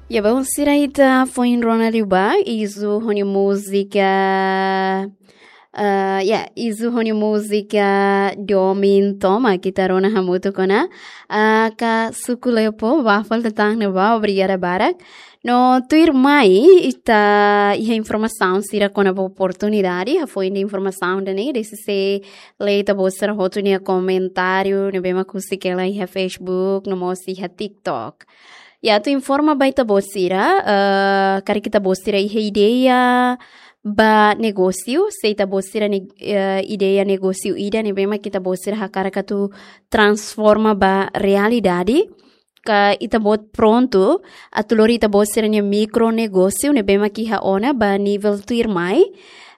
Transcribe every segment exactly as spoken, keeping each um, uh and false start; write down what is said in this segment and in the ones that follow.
Ya, belun sira, ita foin rona liu ba Izu ho nia múzika. Ah, ya, Izu ho nia múzika Domin Toma, ita rona hamutuk ona. Ah, ka suku Lepo, ba falta tan ne ba, obrigada barak. No tuirmai, ita iha informasaun sira kona-ba oportunidade, hafoin ida informasaun ida-ne'e, desi se lee ita-boot sira hotu nia komentáriu, ne'ebé mak husik hela iha Facebook, no mós iha TikTok. Ya, atu informa ba ita-boot sira, eh, karik ita-boot sira iha ideia ba negósiu, se ita-boot sira ne-, eh, ideia negósiu ida ne'ebé mak ita-boot sira hakarak atu transforma ba realidade, ka ita-boot prontu atu lori ita-boot sira-nia mikronegósiu ne'ebé mak iha ona ba nivel tuirmai.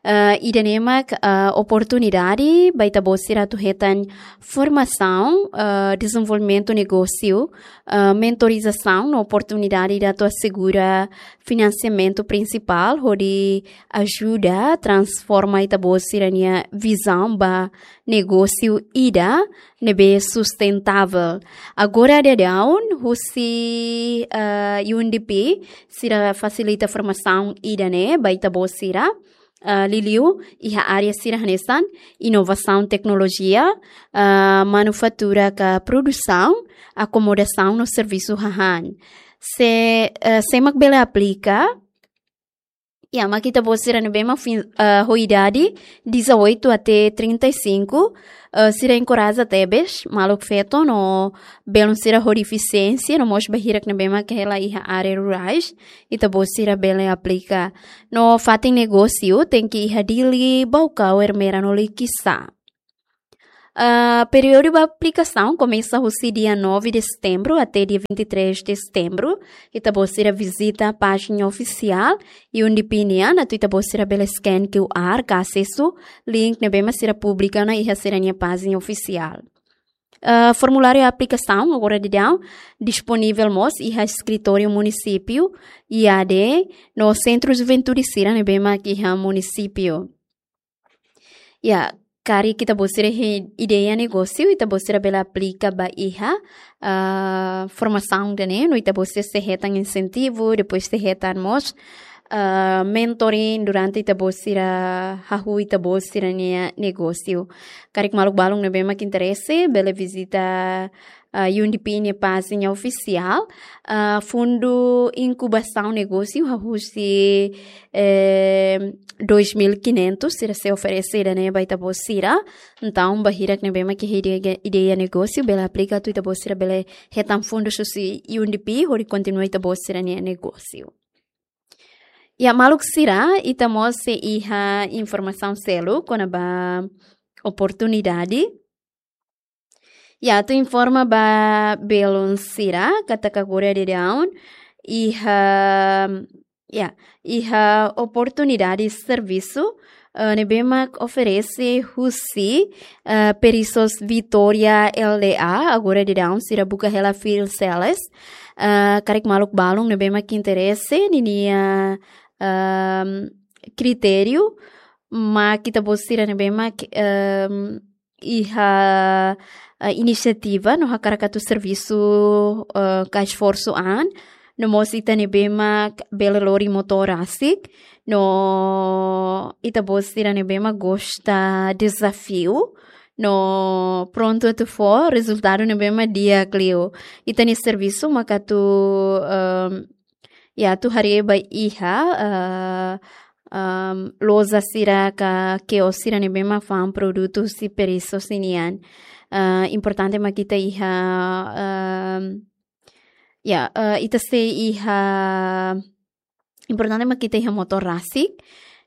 Eh, ida-ne'e mak, eh, oportunidade ba ita-boot sira atu hetan formasaun, eh, dezenvolvimentu negósiu, eh, mentorizasaun no oportunidade ida atu asegura finansiamentu prinsipál hodi ajuda transforma ita-boot sira-nia vizaun ba negósiu ida ne'ebé sustentável. Agora daudaun, husi, eh, U N D P, sira fasilita formasaun ida-ne'e ba ita-boot sira, eh, liuliu iha área sira hanesan inovasaun teknolojia, eh, manufatura ka produsaun, akomodasaun no servisu hahán. Se, eh, sé mak bele aplika, ya, mak ita-boot sira ne'ebé mak fin-, eh, ho idade dezoito até trinta e cinco, eh, sira enkoraja tebes maluk feto no belun sira ho defisiénsia, no mós bainhira ne'ebé mak hela iha área rurais, ita-boot sira bele aplika. No fatin negósiu tenke iha Dili, Baucau, Ermera no Likisá. Ah, períodu ba aplikasaun komesa husi dia nove de setembro até dia vinte e três de setembro. Ita-boot sira vizita pájina ofisiál U N D P nian, atu ita-boot sira bele scan Q R ka asesu link ne'ebé mak sira publika ona iha sira-nia pájina ofisiál. Ah, formuláriu aplikasaun agora daudaun disponivel mós iha eskritóriu munisípiu, I A D, no sentru juventude sira ne'ebé mak iha munisípiu. Ya, karik ita-boot sira iha ideia negósiu, ita-boot sira bele aplika ba iha, ah, formasaun ida-ne'e, no ita-boot sira sei hetan insentivu, depois sei hetan mós, ah, mentoring durante ita-boot sira hahú ita-boot sira-nia negósiu. Karik maluk balun ne'ebé mak interese, bele vizita, ah, U N D P nia pájina ofisiál, ah, fundu inkubasaun negósiu hahú husi, eh, dois mil e quinhentos sira sei oferese ida-ne'e ba ita-boot sira. Entaun, bainhira ne'ebé mak iha ideia, ideia negósiu, bele aplika atu ita-boot sira bele hetan fundu husi U N D P, hodi kontinua ita-boot sira-nia negósiu. Ya, maluk sira, ita mós sei iha informasaun seluk kona-ba oportunidade. Ya, atu informa ba belun sira, katak agora daudaun iha, ya, iha oportunidade servisu, eh, ne'ebé mak oferese husi, eh, Perisos Vitória L D A, agora daudaun sira buka hela field sales, eh, karik maluk balun ne'ebé mak interese, ninia, ehm, kritériu, mak ita-boot sira ne'ebé mak, ehm, iha, eh, inisiativa no hakarak atu servisu, eh, ka esforsu an, no mós ita ne'ebé mak bele lori motór rasik, no ita-boot sira ne'ebé mak gosta dezafiu, no prontu atu fó rezultadu ne'ebé mak di'ak liu. Ita-nia servisu mak atu, ehm, ya, atu haree ba iha, eh, ehm, loja sira ka kios sira ne'ebé mak fa'an produtu husi Perisos nian. Eh, importante mak ita iha, ehm, ya, eh, ita sei iha, importante mak ita iha motór rasik,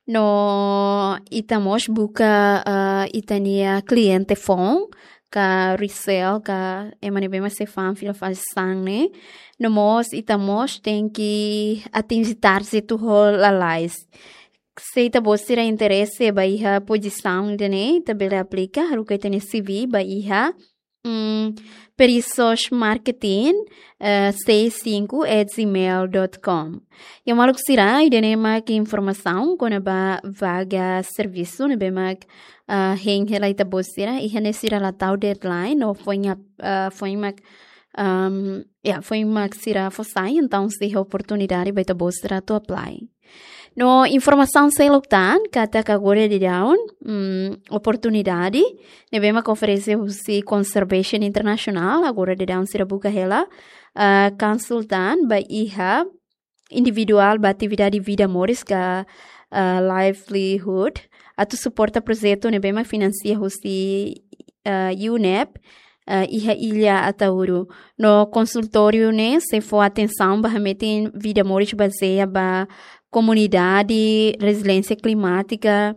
no ita mós buka, eh, ita-nia kliente foun, ka resell, ka ema ne'ebé mak sei fa'an fila fali sasán ne'e. No mós ita mós tenke atinje target ho lalais. Se ita-boot sira interese ba iha pozisaun ida-ne'e, ita bele aplika, haruka ita-nia C V ba iha, mm, Perisos Marketing, eh, seis cinco at gmail dot com. Ya, maluk sira, ida-ne'e mak informasaun kona-ba vaga servisu ne'ebé mak, eh, hein hela ita-boot sira, iha ne'e sira la tau deadline, no foin ap-, eh, foin mak Um, ya, foin mak sira fó sai, entaun sei iha oportunidade ba ita-boot sira atu apply. No informasaun seluk tan, katak agora daudaun, mm, oportunidade ne'ebé mak oferese husi Conservation International, agora daudaun sira buka hela, ah, konsultan ba iha individuál ba atividade vida moris ka, ah, livelihood, atu suporta projetu ne'ebé mak finansia husi, ah, UNEP, ah, iha illa Ataúro. No konsultóriu ne'e sei fó atensaun ba hametin vida moris bazeia ba komunidade, reziliénsia klimátika,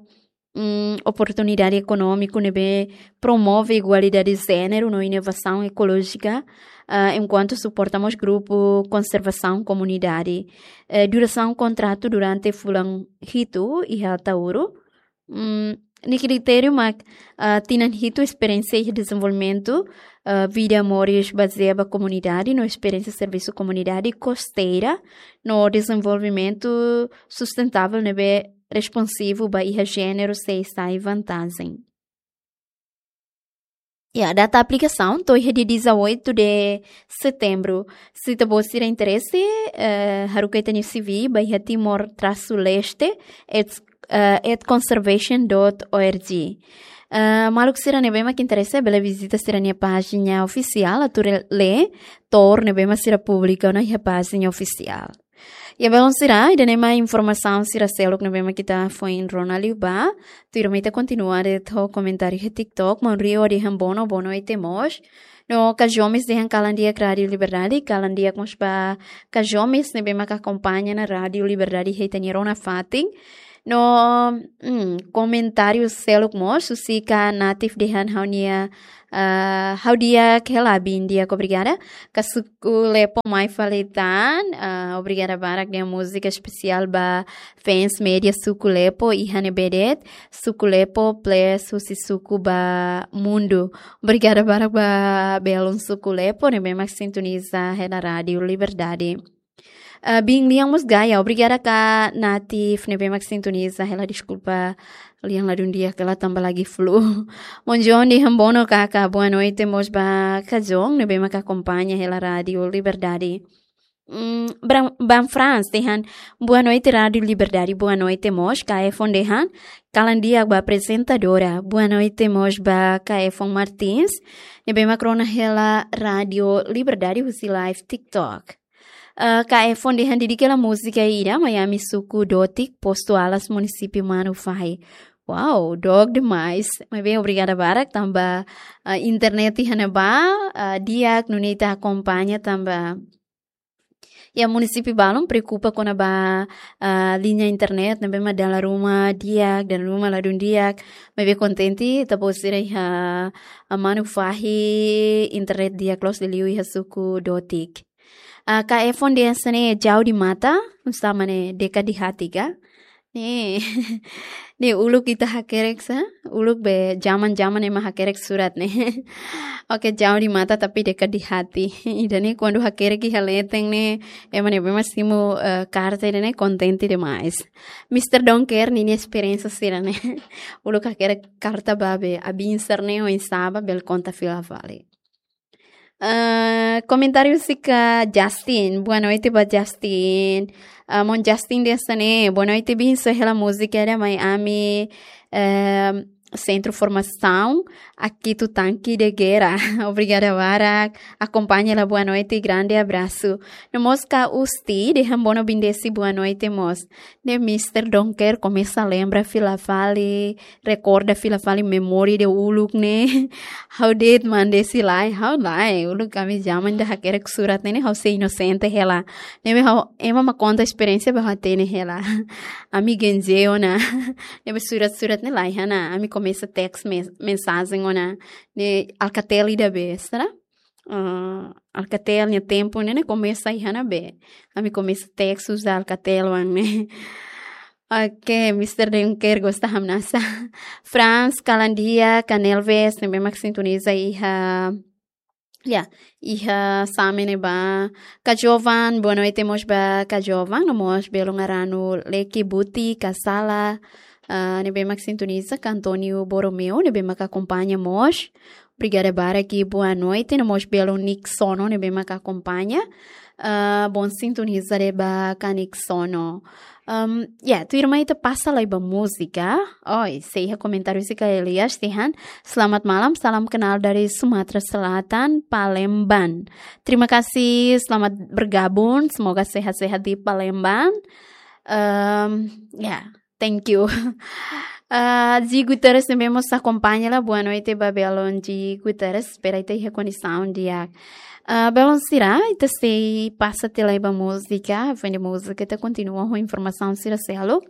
mm, oportunidade ekonómiku ne'ebé promove igualdade de jéneru no inovasaun ekolójika, ah, enkuantu suporta mós grupu konservasaun komunidade. Eh, durasaun kontratu durante fulan hitu iha Ataúro. Mm, nia kritériu mak, ah, tinan hitu esperiénsia iha dezenvolvimentu, ah, vida moris bazeia ba komunidade, no esperiénsia servisu komunidade kosteira, no dezenvolvimentu sustentável ne'ebé responsivu ba iha jéneru sei sai vantajen. Ya, data aplikasaun to'o iha dia dezoito de setembro. Se ita-boot sira interese, eh, haruka ita-nia C V ba iha timor traço leste at, eh, at conservation dot org. Eh, maluk sira ne'ebé mak interese, bele vizita sira-nia pájina ofisiál, atu re-, lee tour ne'ebé mak sira publika ona iha pájina ofisiál. Ya, belun sira, ida-ne'e mak informasaun sira seluk ne'ebé mak ita foin rona liu ba. Tuirmai ita kontinua de'it ho komentáriu iha TikTok, maun Rio dehan bono, boa noite mós. No Kajomes dehan kalan di'ak Rádio Liberdade, kalan di'ak mós ba Kajomes ne'ebé mak akompaña ona Rádio Liberdade iha ita-nia rona fatin. No, mm, komentáriu seluk mós, Susika Natif dehan ha'u-nia, ah, ha'u di'ak hela, biin di'ak, obrigada. Ka Suku Lepo mai fali tan, ah, obrigada barak dehan múzika espesiál ba fans média Suku Lepo, iha ne'ebé de'it, Suku Lepo plus husi suku ba mundu. Obrigada barak ba belun Suku Lepo ne'ebé mak sintoniza hela Rádio Liberdade. Ah, biin lian mós gaya, obrigada ka Natif ne'ebé mak sintoniza hela, deskulpa lian ladún di'ak hela tanba lagi flu. Maun John dehan bono kaka, boa noite mós ba Kajon ne'ebé mak akompaña hela Rádio Liberdade. Mm, Bran-, Ban Frans dehan, boa noite Rádio Liberdade, boa noite mós, K F on dehan, kalan di'ak ba aprezentadora, boa noite mós ba K F on Martins, ne'ebé mak rona hela Rádio Liberdade husi live TikTok. Eh, K F on dehan, didik hela múzika ida, mai ami suku Dotik, Postu Alas, munisípiu Manufahi. Wow, dook demais. Maibé obrigada barak tanba, eh, internet iha ne'ebá, eh, di'ak nune'e ita akompaña tanba iha munisípiu balun preokupa kona-ba, ah, liña internet, ne'ebé mak dala ruma di'ak, dala ruma ladún di'ak, maibé kontente, ita-boot sira iha, ah, Manufahi internet di'ak loos liuliu iha suku Dotik. Ah, K F on dehan hanesan ne'e, Jau di Mata, hanesan ne'e, dekat di hati ka? Ne'e, ne'e uluk ita hakerek sá, uluk be zaman-zaman ema hakerek surat ne'e. Oke, Jau di Mata tapi dekat di hati. Ida-ne'e kuandu hakerek iha leten ne'e, ema ne'ebé mak simu, eh, karta ida-ne'e kontente demais. Mister Donker, ninia esperiénsia sira-ne'e. Uluk hakerek karta ba be, abiin sira-ne'e oinsá ba, bele konta fila fali. Eh, komentáriu husi ka Justin. Boa noite ba Justin. Ah, maun Justin dehan hanesan ne'e, boa noite, biin, só hela múzika ida mai ami, eh, Sentru Formasaun Akitu Tanki de Guerra. Obrigada barak. Akompaña hela, boa noite, grande abraço. No mós ka Usti dehan bono, biin Desi, boa noite mós. Ne'e Mister Donker komesa lembra fila fali, rekorda fila fali memória ida uluk ne'e. Ha'u de'it, maun Desi, lae, ha'u lae. Uluk ami zaman ida hakerek surat ne'e, ha'u sei inosente hela. Ne'ebé ha'u, ema mak konta esperiénsia ba ha'u hatene hela. Ami genze ona. Ne'ebé surat-surat ne'e la iha ona. Ami komesa text mes-, mensajen ona. Ne'e Alcatel ida be, será? Ah, Alcatel nia tempu ne'e, ne'e komesa iha ona be. Ami komesa text uza Alcatel oan ne'e. Oke, Mister Donker gosta hamnasa. Franz, kalan di'ak, Canelves, ne'ebé mak sintoniza iha, ya, iha Same ne'ebá. Ka Jovan, boa noite mós ba Ka Jovan, no mós belun Aranu Leki Buti, Ka Sala, Ah, ne'ebé mak sintoniza, António Borromeu, ne'ebé mak akompaña mós. Obrigada barak, boa noite, no mós belun Nixono, ne'ebé mak akompaña. Ah, bom sintonizar ba Nixono. Um, ya, tuirmai ita pasa lai ba múzika. Oi, sei iha komentáriu husi Elias dehan: Selamat malam, salam kenal dari Sumatera Selatan, Palembang. Terima kasih, selamat bergabung. Semoga sehat-sehat di Palembang. Um, ya, thank you. Ah, G Guterres ne'ebé mós akompaña lai, boa noite ba belun G Guterres, espera ita iha kondisaun di'ak. Ah, belun sira, ita sei pasa tiha lai ba múzika, foin de múzika ita kontinua ho informasaun sira seluk.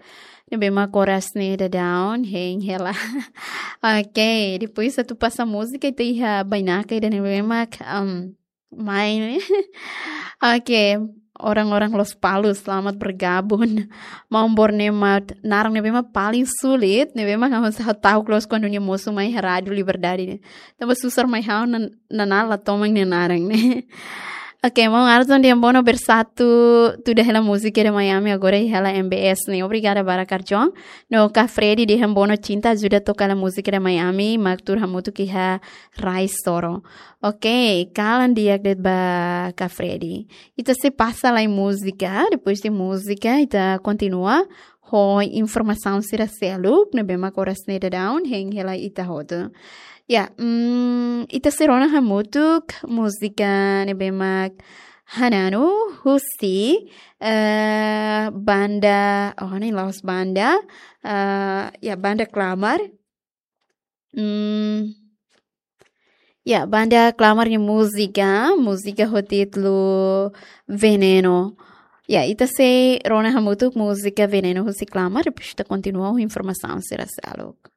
Ne'ebé mak oras ne'e daudaun hein hela. Ok, depois atu pasa múzika, ita iha bainaka ida ne'ebé mak, um, mai ne'e. Ok, orang-orang Lospalos, selamat bergabung. Maun Borneo mak naran ne'ebé mak paling sulit, ne'ebé mak ha'u sá ha'u ta'uk loos kuandu nia mosu mai iha Rádio Liberdade ne'e. Tanba susar mai ha'u nan-, nanál la toman nia naran ne'e. Ok, maun Arson de Ambono Bersatu, tuda hela múzika de Miami, agora hela M B S ne'e. Obrigada barak Arson. No ka Freddy de Ambono Cinta ajuda toka hela múzika de Miami, mak tuur hamutuk iha Rai Soro. Ok, kalan di'ak de'it ba ka Freddy. Ita sei pasa lai múzika, depois de múzika, ita kontinua ho informasaun sira seluk, ne'ebé mak oras ne'e daudaun hein hela ita hotu. Ya, mm, ita sei rona hamutuk múzika ne'ebé mak Hananu husi, eh, banda, oh, ne'e la'ós banda, eh, ya, banda Klamar. Mm, ya, banda Klamar nia múzika, múzika ho títulu Veneno. Ya, ita sei rona hamutuk múzika Veneno husi Klamar, depois ita kontinua ho informasaun sira seluk.